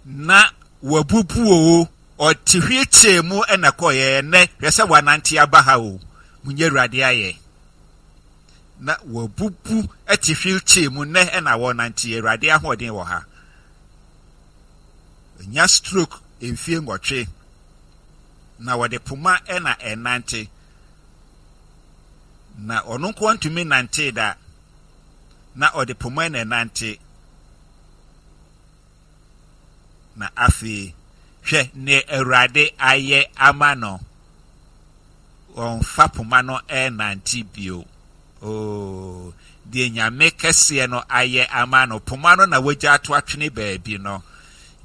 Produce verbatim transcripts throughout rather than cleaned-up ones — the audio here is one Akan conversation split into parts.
Na wabubu o, ɔte wheelchair mu ɛna kɔɔyɛ. Ɛnɛ hwɛ sɛ wanante aba ha o. Munyɛ Awurade ayɛ. Na wabubu ɛte wheelchair mu, nnɛ ɛna wɔnante. Awurade ahoɔden wɔ ha. Nya stroke mfie nwɔtwe na wɔde poma ɛna ɛnante, na ɔno nko ntumi nante da, na ɔde poma na ɛnante. Na afei hwɛ ne Awurade ayɛ ama no, ɔmfa poma no ɛnante bio. Oo, deɛ Nyame kɛseɛ no ayɛ ama no, poma no na wagya ato atwene baabi no.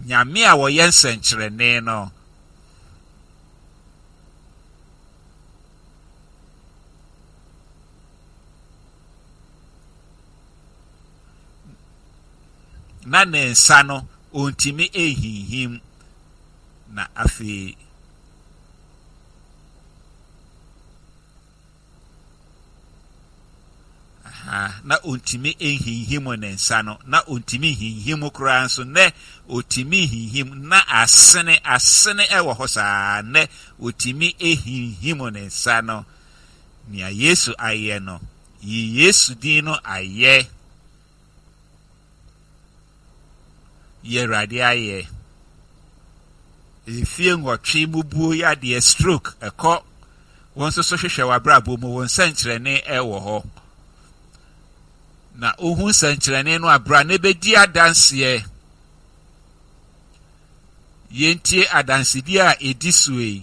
Nyame a wɔyɛ nsɛnkyerɛnne no, na ne nsa no ɔntumi ehinhim. Na afei aha, na ɔntumi nhinhim ne nsa no, na ɔntumi nhinhim koraa nso, nnɛ ɔtumi nhinhim. Na asene asene ɛwɔ hɔ saa, nnɛ ɔtumi ehinhim ne nsa no. Nea Yesu ayɛ no, yi Yesu din no ayɛ. Yɛ Awurade ayɛ. Efie nwɔtwe mubuo yadeɛ, stroke ɛkɔ. Wɔn nso so hwehwɛ w'abrabɔ mu, wɔn nsɛnkyerɛnne ɛwɔ hɔ. Na ohu nsɛnkyerɛnne no abra na ebedi adanseɛ. Yɛntie adansedie a edi so yi.